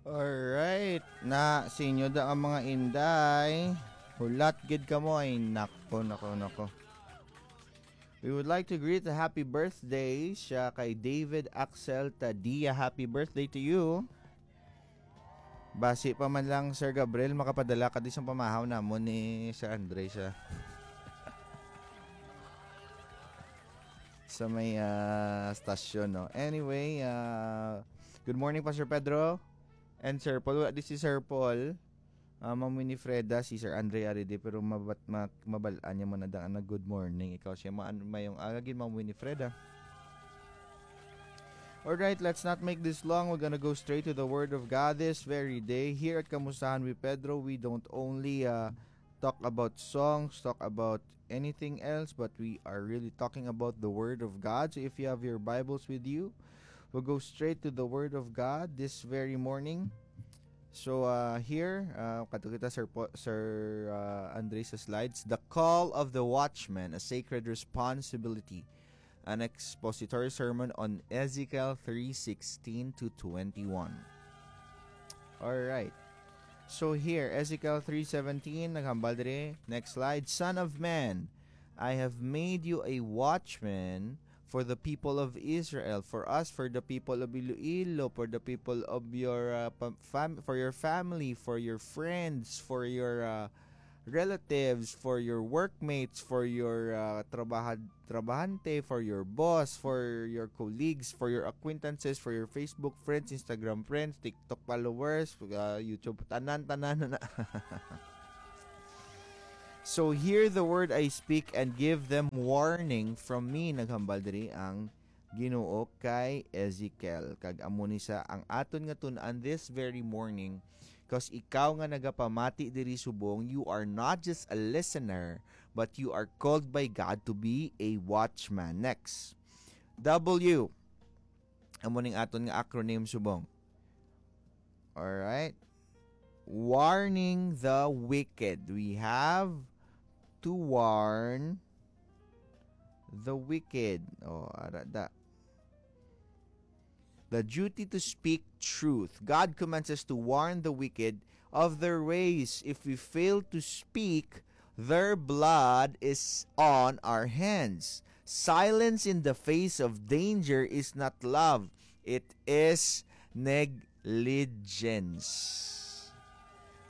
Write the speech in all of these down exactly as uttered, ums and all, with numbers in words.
Alright. Na, sa inyo da ang mga inday. Hulat gid kamo ay nako, nako, nako. We would like to greet a happy birthday siya kay David Axel Tadia. Happy birthday to you. Basi pa man lang, Sir Gabriel, makapadala ka di sa pamahaw namon ni Sir Andre sa sa may ah, stasyon, no? Anyway, ah, good morning, Pastor Pedro and Sir Paul. Wala di si Sir Paul. Ah, Ma'am Winifreda, si Sir Andre Aride, pero mabat, ma, mabal-an niya man na daan na good morning. Ikaw siya, maan, mayong aga gid, Ma'am Winifreda. All right, let's not make this long. We're gonna go straight to the Word of God this very day. Here at Kamustahan with Pedro, we don't only uh, talk about songs, talk about anything else, but we are really talking about the Word of God. So if you have your Bibles with you, we'll go straight to the Word of God this very morning. So uh, here, uh, kadto kita, Sir, po, Sir uh, Andre, sa slides. The Call of the Watchman, a Sacred Responsibility. An expository sermon on Ezekiel three sixteen to twenty-one. All right. So here, Ezekiel three seventeen, naghambal diri. Next slide. Son of man, I have made you a watchman for the people of Israel, for us, for the people of Iloilo, for the people of your uh, pa- fam- for your family, for your friends, for your uh, relatives, for your workmates, for your uh, trabahad- trabahante, for your boss, for your colleagues, for your acquaintances, for your Facebook friends, Instagram friends, TikTok followers, uh, YouTube, tanan, tanan na. So hear the word I speak and give them warning from me. Naghambal diri ang Ginoo kay Ezekiel, kag amo ni sa ang aton nga tun-an this very morning, cause ikaw nga nagapamati diri subong, you are not just a listener, but you are called by God to be a watchman. Next. W. Amo ning aton nga acronym subong. All right. Warning the wicked. We have to warn the wicked. Oh, ara da. The duty to speak truth. God commands us to warn the wicked of their ways. If we fail to speak, their blood is on our hands. Silence in the face of danger is not love. It is negligence.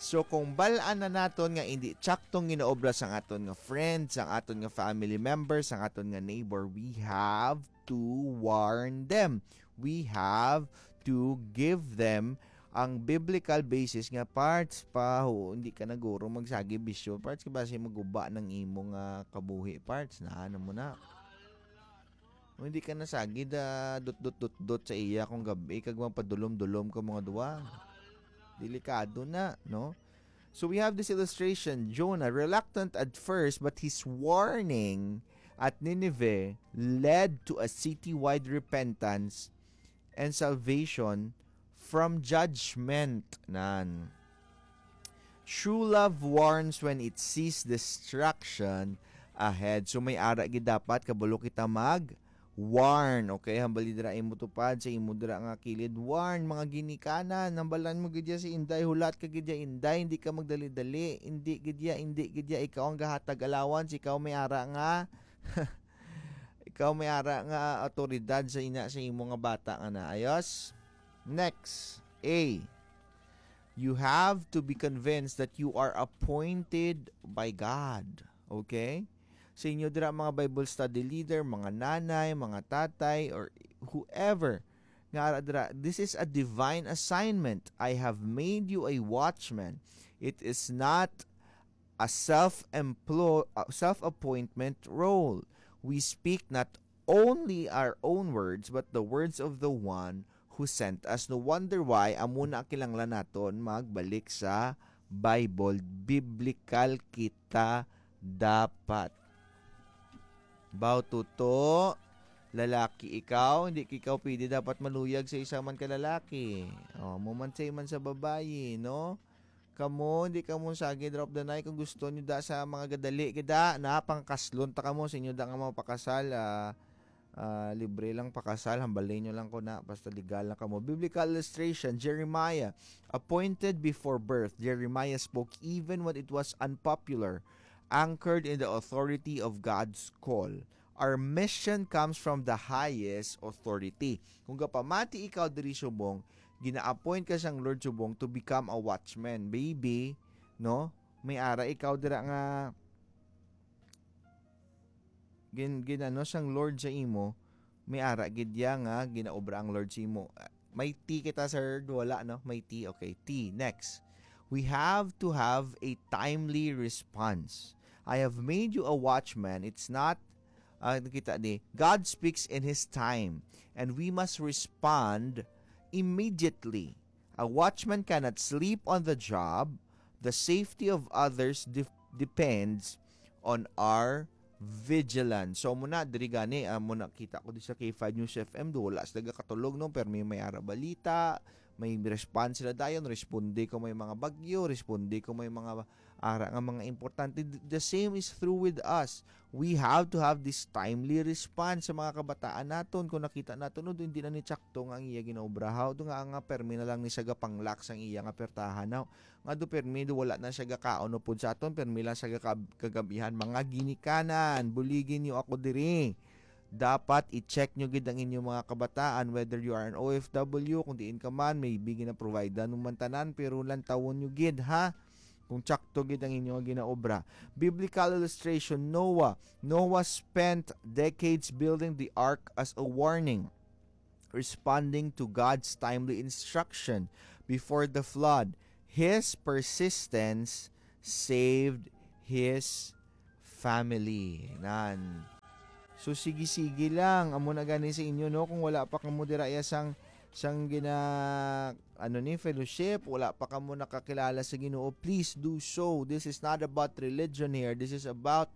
So kung bal-an na naton nga indi tsaktong ginaobra sang aton nga friend, sang aton nga family member, sang aton nga neighbor, we have to warn them. We have to give them ang biblical basis nga parts pa. Ho, hindi ka na guro magsagi bisyo parts, kay basi maguba ng imo nga kabuhi parts na ano mo na. O hindi ka nasagid, ah, dot, dot, dot, dot sa iya kung gabi, kag mapadulom-dulom ka mga duwa. Delikado na, no? So we have this illustration, Jonah, reluctant at first, but his warning at Nineveh led to a citywide repentance and salvation from judgment. Nan. True love warns when it sees destruction ahead. So may ara gid dapat kabalo kita mag warn, okay? Hambali dira imo tupad sa imo dira nga kilid. Warn, mga ginikanan, hambalan mo gid ya si Inday, hulat ka gid ya, Inday, hindi ka magdali-dali, hindi gid ya, hindi gid ya, ikaw ang gahatag allowance, ikaw may ara nga, ikaw may ara nga autoridad sa ina sa imo nga bata nga naayos. Next, A. You have to be convinced that you are appointed by God. Okay? Sa inyo dira, mga Bible study leader, mga nanay, mga tatay, or whoever nga ara dira, this is a divine assignment. I have made you a watchman. It is not a self-emplo-, uh, self-appointment role. We speak not only our own words, but the words of the one who sent us. No wonder why, amo na kinahanglan naton magbalik sa Bible. Biblical kita dapat. Baw tuto, lalaki ikaw, hindi ikaw pwede dapat maluyag sa isa man ka lalaki. O, mo man sa iman sa babayi, no? Kamo, hindi kamo sagid, drop the night. Kung gusto nyo da sa mga gadali, gada, na, pangkaslon ta kamo sa inyo da nga mga pakasal, ah, Ah, libre lang pakasal, hambalin nyo lang ko na, basta legal lang kamo. Biblical illustration, Jeremiah, appointed before birth, Jeremiah spoke even when it was unpopular, anchored in the authority of God's call. Our mission comes from the highest authority. Kung gapamati ikaw diri subong, gina-appoint ka sang Lord subong to become a watchman. Maybe, no? May ara ikaw dira nga gin, ginano sang Lord sa imo, may ara gid ya nga ginaobra ang Lord sa imo. May T kita, sir? Wala, no? May T. Okay, T. Next. We have to have a timely response. "I have made you a watchman." It's not, ah, nakita ni, God speaks in His time, and we must respond immediately. A watchman cannot sleep on the job. The safety of others def-, depends on our vigilance. So, muna, diri gani, ah, muna kita ko di sa K five News F M, do wala sila gakatulog, no? Pero may, may ara balita, may response sila dayon, responde ko may mga bagyo, responde ko may mga ara nga mga importante. Th-, the same is true with us. We have to have this timely response sa mga kabataan naton. Kung nakita naton, no, hindi na ni tsakto nga ang iya ginaobrahaw, do nga, nga permi na lang ni sa gapanglak sang iya nga pertahan, no? Nga do permi, do wala na siya gakaon upod sa aton, permi lang siya gakab-, kagabihan. Mga ginikanan, buligi niyo ako diri. Dapat i-check nyo gid ang inyong mga kabataan, whether you are an O F W, kung diin ka man, maybe gina-provide mo man tanan, pero lantawon nyo gid, ha? Kung tsakto gid ang inyong ginaobra. Biblical illustration, Noah. Noah spent decades building the ark as a warning, responding to God's timely instruction before the flood. His persistence saved his family. Nan. So, sige-sige lang. Amo na gani sa inyo, no? Kung wala pa kamo dira iya sang, sang gina, ano ni, fellowship, wala pa kamo nakakilala sa Ginoo, please do so. This is not about religion here. This is about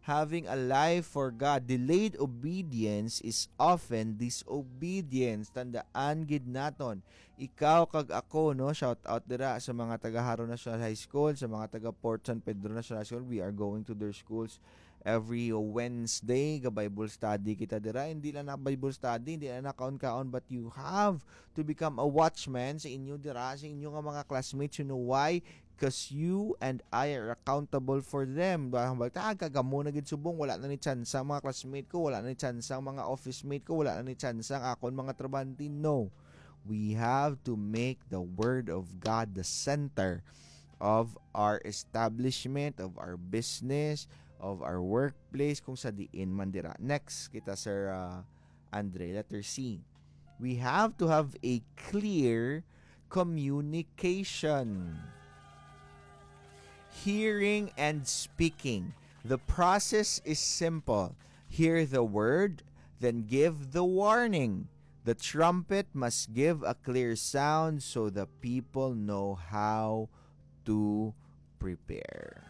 having a life for God. Delayed obedience is often disobedience. Tandaan gid naton, ikaw kag ako, no, shout out dira sa mga taga Jaro National High School, sa mga taga Port San Pedro National High School. We are going to their schools every Wednesday. Ga Bible study kita dira. Hindi lang na Bible study, hindi lang na kaon-kaon, but you have to become a watchman sa inyo dira, sa inyo nga mga classmates. You know why? 'Cause you and I are accountable for them. Ba, hambal ta, "Ah, kagamo na gid subong, wala na ni tsansa ang mga classmate ko, wala na ni tsansa ang mga office mate ko, wala na ni tsansa ang akon mga trabahante." No. We have to make the word of God the center of our establishment, of our business, of our workplace, kung sa diin man dira. Next kita, Sir, ah, Andre, letter C. We have to have a clear communication. Hearing and speaking. The process is simple. Hear the word, then give the warning. The trumpet must give a clear sound so the people know how to prepare.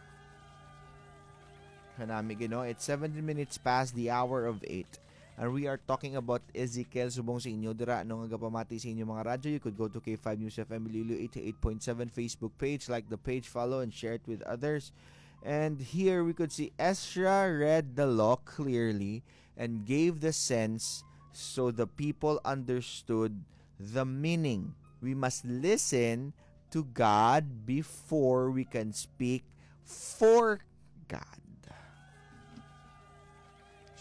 Kanami, Ginoo, it's seventeen minutes past the hour of eight. And we are talking about Ezekiel. Subong sa inyo dira, no, nga gapamati sa inyo mga radyo, you could go to K five News F M Iloilo eighty-eight point seven Facebook page, like the page, follow, and share it with others. And here we could see Ezra read the law clearly and gave the sense so the people understood the meaning. We must listen to God before we can speak for God.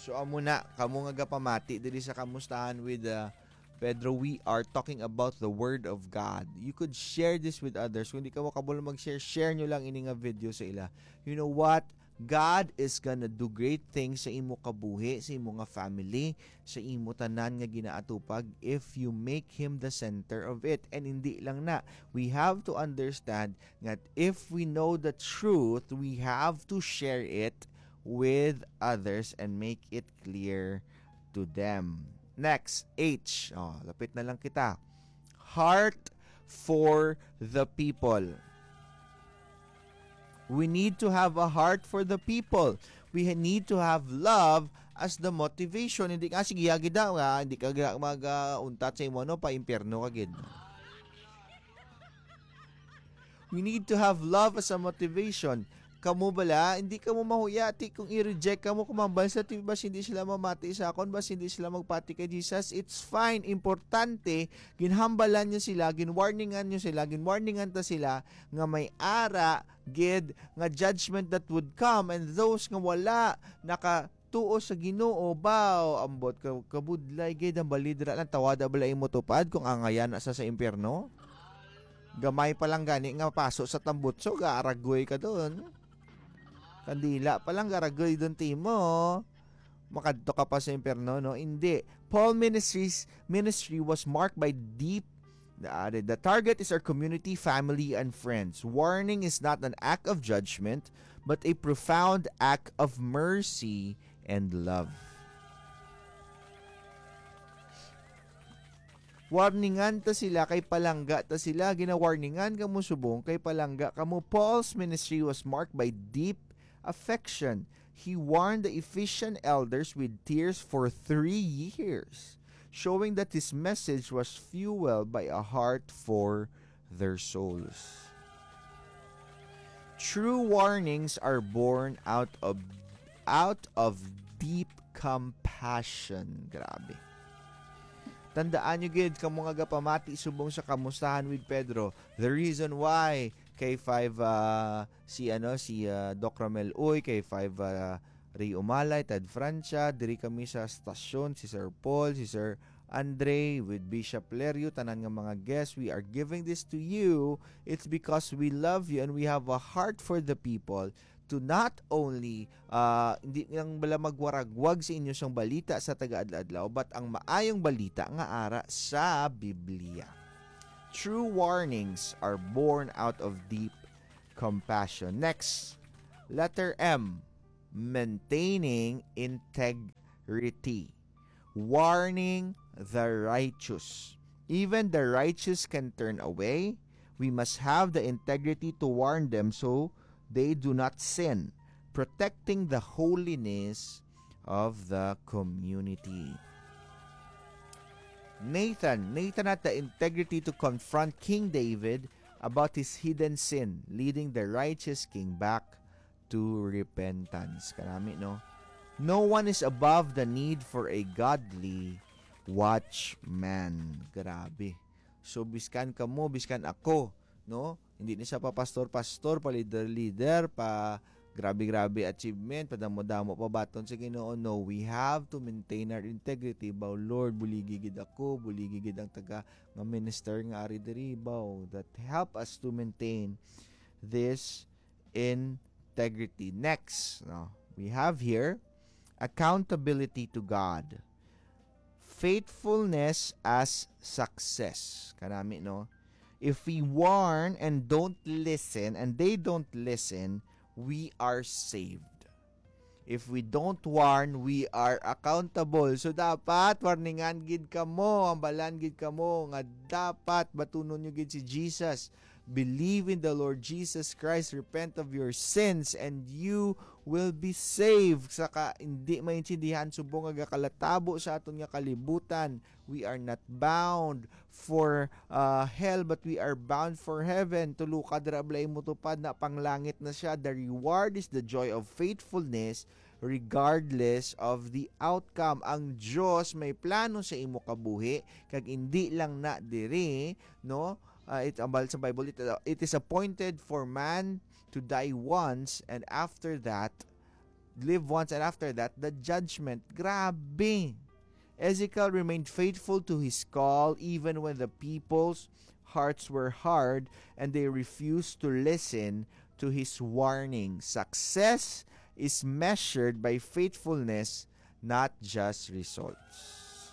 So, amo na, kamo nga gapamati diri sa kamustahan with, uh, Pedro, we are talking about the Word of God. You could share this with others. Kung di ka makabalo mag-share, share nyo lang ini nga video sa ila. You know what? God is gonna do great things sa imo kabuhi, sa imo nga family, sa imo tanan nga ginaatupag if you make Him the center of it. And hindi lang na, we have to understand that if we know the truth, we have to share it with others and make it clear to them. Next, H. Oh, lapit na lang kita. Heart for the people. We need to have a heart for the people. We ha-, need to have love as the motivation. Hindi ka, "Sige, yagi daw, ha? Hindi ka gra-, mag, ah, untat sa imo, ano, pa impyerno ka gid." We need to have love as a motivation. kamo bala, hindi kamo mahuya, ti kung i-reject kamo, kung mambal sa T V, bas hindi sila mamati sa akon, bas hindi sila magpati kay Jesus, it's fine. Importante, ginhambalan niyo sila, ginwarningan niyo sila, ginwarningan ta sila nga may ara gid nga judgment that would come, and those nga wala nakatuo sa Ginoo, baw, ambot ka, kabudlay gid ang balidra lang, tawada bala imo tupad kung angaya na sa, sa impyerno. Gamay pa lang gani nga paso sa tambutso, gaaragoy ka doon. Kandila pa lang, garagoy doon timo. Makadto ka pa sa impyerno, no? Hindi. Paul ministries, ministry was marked by deep, the, the target is our community, family, and friends. Warning is not an act of judgment, but a profound act of mercy and love. Warningan ta sila kay palangga ta sila. Ginawarningan kamo subong kay palangga kamo. Paul's ministry was marked by deep affection. He warned the Ephesian elders with tears for three years, showing that his message was fueled by a heart for their souls. True warnings are born out of out of deep compassion. Grabe. Tandaan nyo gid, kamo nga gapamati subong sa kamustahan with Pedro. The reason why kay five, ah, si, ano, si, ah, Doc Romel Uy, kay five, ah, Ray Umalay, Tad Francia, diri kami sa stasyon, si Sir Paul, si Sir Andre, with Bishop Lerio, tanan nga mga guests, we are giving this to you. It's because we love you and we have a heart for the people to not only, ah, hindi lang bala magwaragwag sa inyo sang balita sa taga-adlaw-adlaw, but ang maayong balita nga ara sa Biblia. True warnings are born out of deep compassion. Next, letter M, maintaining integrity. Warning the righteous. Even the righteous can turn away. We must have the integrity to warn them so they do not sin, protecting the holiness of the community. Nathan, Nathan had the integrity to confront King David about his hidden sin, leading the righteous king back to repentance. Kanami, no? No one is above the need for a godly watchman. Grabe. So, biskan kamo, biskan ako, no? Hindi ni sa pa pastor-pastor, pa leader-leader, pa grabe-grabe achievement, pa damo-damo pa baton sa Ginoo. No, we have to maintain our integrity. Baw, Lord, buligi gid ako, buligi gid ang taga nga minister nga ari diri, baw, that help us to maintain this integrity. Next, no, we have here accountability to God. Faithfulness as success. Kanami, no? If we warn and don't listen, and they don't listen, we are saved. If we don't warn, we are accountable. So, dapat warningan gid kamo, hambalan gid kamo nga dapat batunon nyo gid si Jesus. Believe in the Lord Jesus Christ, repent of your sins, and you will be saved. Saka, hindi maintindihan subong nga gakalatabo sa aton nga kalibutan. We are not bound for, uh, hell, but we are bound for heaven. Tulo ka dira, balay mo tupad na, panglangit na siya. The reward is the joy of faithfulness regardless of the outcome. Ang Dios may plano sa imo kabuhi, kag hindi lang na diri, no? Ah, it, ambal sa Bible, it, it is appointed for man to die once, and after that, live once, and after that, the judgment. Grabe! Ezekiel remained faithful to his call even when the people's hearts were hard and they refused to listen to his warning. Success is measured by faithfulness, not just results.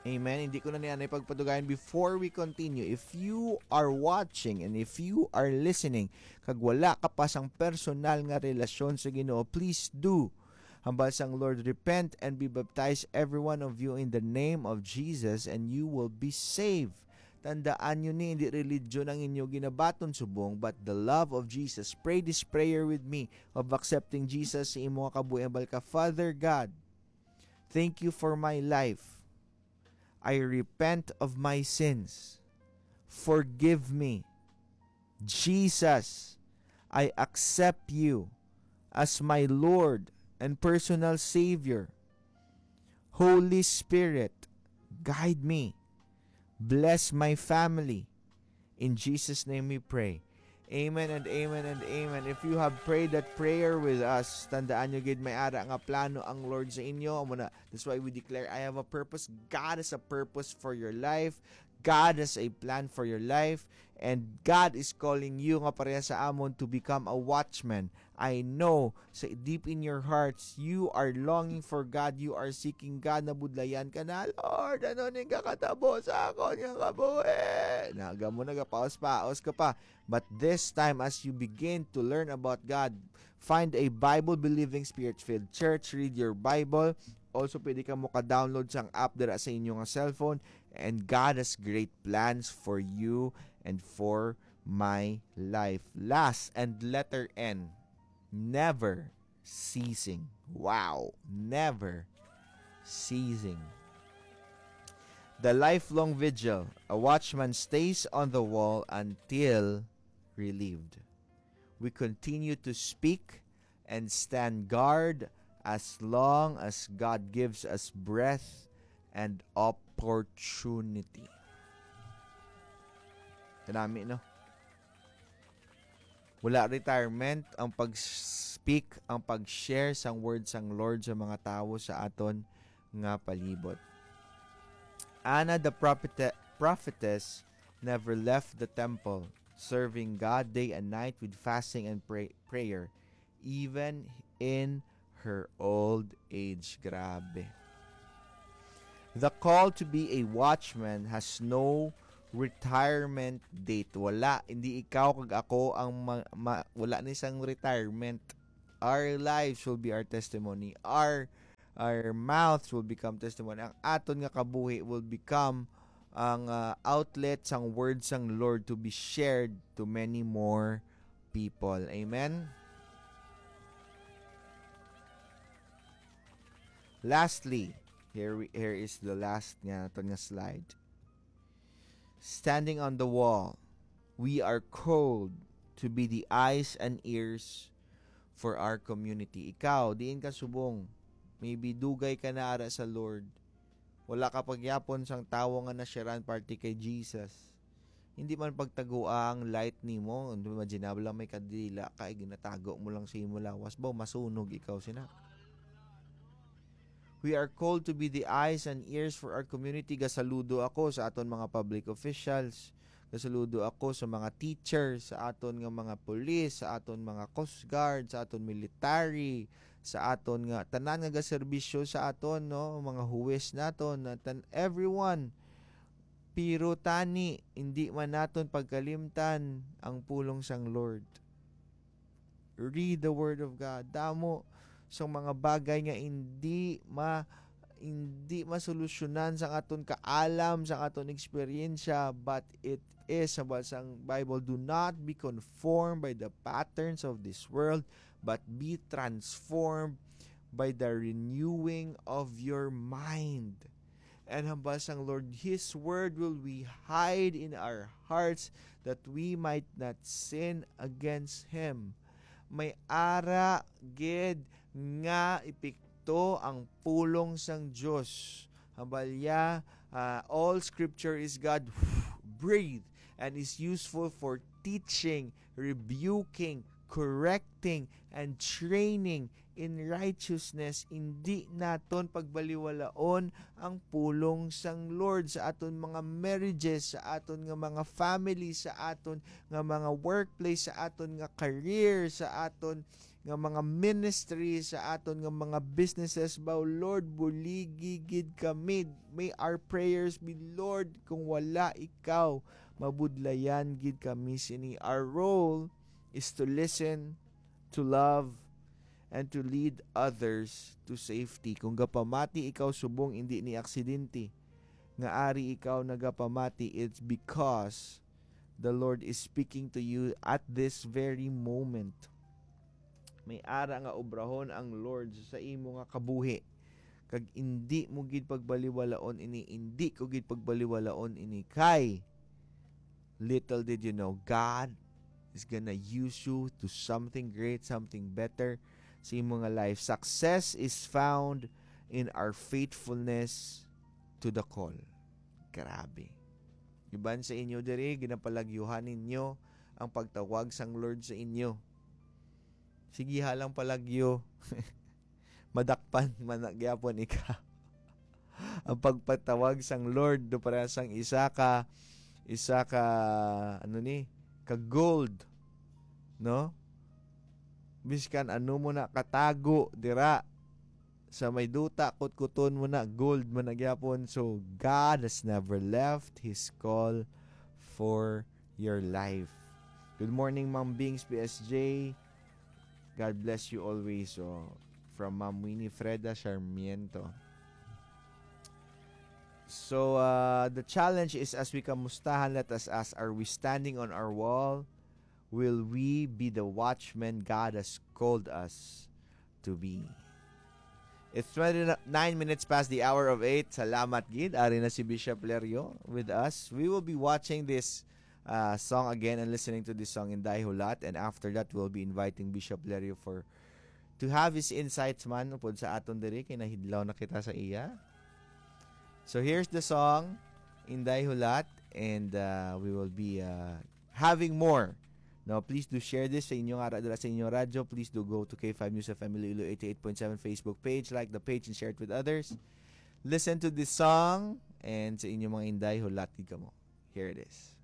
Amen. Hindi ko na niya na ipagpadugayan. Before we continue, if you are watching and if you are listening, kag wala ka pa sang personal nga relasyon sa Ginoo, please do. Hambal sang Lord, "Repent and be baptized, every one of you, in the name of Jesus, and you will be saved." Tandaan nyo ni, hindi religion ang inyo ginabaton subong, but the love of Jesus. Pray this prayer with me of accepting Jesus sa imo nga kabuhi. Hambal ka, "Father God, thank you for my life. I repent of my sins. Forgive me. Jesus, I accept you as my Lord and personal Savior. Holy Spirit, guide me. Bless my family. In Jesus' name we pray. Amen and amen and amen. If you have prayed that prayer with us, tandaan nyo gid, may ara nga plano ang Lord sa inyo. Amo na, that's why we declare, "I have a purpose." God has a purpose for your life. God has a plan for your life. And God is calling you nga pareha sa amon to become a watchman. I know, sa deep in your hearts, you are longing for God, you are seeking God, nabudlayan ka na, "Lord, ano ning kakatabo sa akon nga kabuhi?" Naga mo, nagapaos-paos ka pa. But this time, as you begin to learn about God, find a Bible-believing, spirit-filled church, read your Bible. Also, pwede ka mo ka-download sang app dira sa inyo nga cellphone. And God has great plans for you and for my life. Last and letter N, never ceasing. Wow, never ceasing. The lifelong vigil. A watchman stays on the wall until relieved. We continue to speak and stand guard as long as God gives us breath and opportunity. Kanami, no? Wala retirement ang pag-speak, ang pag-share sang word sang Lord sa mga tawo sa aton nga palibot. Anna the prophet-, prophetess never left the temple, serving God day and night with fasting and pray-, prayer, even in her old age. Grabe. The call to be a watchman has no retirement date. Wala, hindi ikaw kag ako ang ma-, ma-, wala ni sang retirement. Our lives will be our testimony. Our, our mouths will become testimony. Ang aton nga kabuhi will become ang, ah, outlet sang word sang Lord to be shared to many more people. Amen? Lastly, here we, here is the last nga aton nga slide. Standing on the wall, we are called to be the eyes and ears for our community. Ikaw, diin ka subong? Maybe dugay ka na ara sa Lord. Wala ka pagyapon sang tawo nga nasyaran parte kay Jesus. Hindi man pagtagua ang light nimo. Imaginable lang, may kadila ka, eh, ginatago mo lang sa imo lawas. Ba, masunog ikaw, sina? We are called to be the eyes and ears for our community. Gasaludo ako sa aton mga public officials. Gasaludo ako sa mga teacher, sa aton nga mga pulis, sa aton mga coast guard, sa aton military, sa aton nga tanan nga gaserbisyo sa aton, no, mga huwes naton, na tan-, everyone. Pero tani, hindi man naton pagkalimtan ang pulong sang Lord. Read the Word of God. Damo sang mga bagay nga hindi ma-, hindi masolusyonan sang aton kaalam, sang aton eksperyensya, but it is, hambal sang Bible, "Do not be conformed by the patterns of this world, but be transformed by the renewing of your mind." And hambal sang Lord, "His word will we hide in our hearts, that we might not sin against Him." May ara gid nga epekto ang pulong sang Dios. Hambal ya, ah, "All scripture is God breathed and is useful for teaching, rebuking, correcting, and training in righteousness." Indi naton pagbaliwalaon ang pulong sang Lord sa aton mga marriages, sa aton nga mga family, sa aton nga mga workplace, sa aton nga career, sa aton nga mga ministry, sa aton nga mga businesses. Ba, Lord, buligi gid kami. May our prayers be, "Lord, kung wala ikaw, mabudlayan gid kami sini." Our role is to listen, to love, and to lead others to safety. Kung gapamati ikaw subong indi ni aksidente nga ari ikaw nagapamati, it's because the Lord is speaking to you at this very moment. May ara nga obrahon ang Lord sa imo nga kabuhi, kag indi mo gid pagbaliwalaon ini, indi ko gid pagbaliwalaon ini, kay little did you know, God is gonna use you to something great, something better sa imo nga life. Success is found in our faithfulness to the call. Grabe. Iban sa inyo diri, ginapalagyuhan ninyo ang pagtawag sang Lord sa inyo. Sige ha lang palagyo. Madakpan man na gyapon ika. Ang pagpatawag sang Lord do para sang isa ka, isa ka, ano ni, ka gold, no? Biskan ano mo na katago dira sa may duta, kutkuton mo na, gold man na gyapon. So, God has never left His call for your life. Good morning, Ma'am Bings, P S J. God bless you always. So, from Ma'am Winifreda Sarmiento. So, uh, the challenge is, as we kamustahan, let us ask, are we standing on our wall? Will we be the watchman God has called us to be? It's twenty-nine minutes past the hour of eight. Salamat gid. Ari na si Bishop Lerio with us. We will be watching this uh, song again and listening to this song, Inday Hulat. And after that, we'll be inviting Bishop Lerio for to have his insights man upod sa aton diri kay nahidlaw na kita sa iya. So here's the song, Inday Hulat, and uh, we will be uh, having more. Now, please do share this sa inyong ara dira sa inyong radyo. Please do go to K five News F M Iloilo eighty-eight point seven Facebook page, like the page, and share it with others. Listen to this song and sa inyong mga inday, hulat gid kamo. Here it is.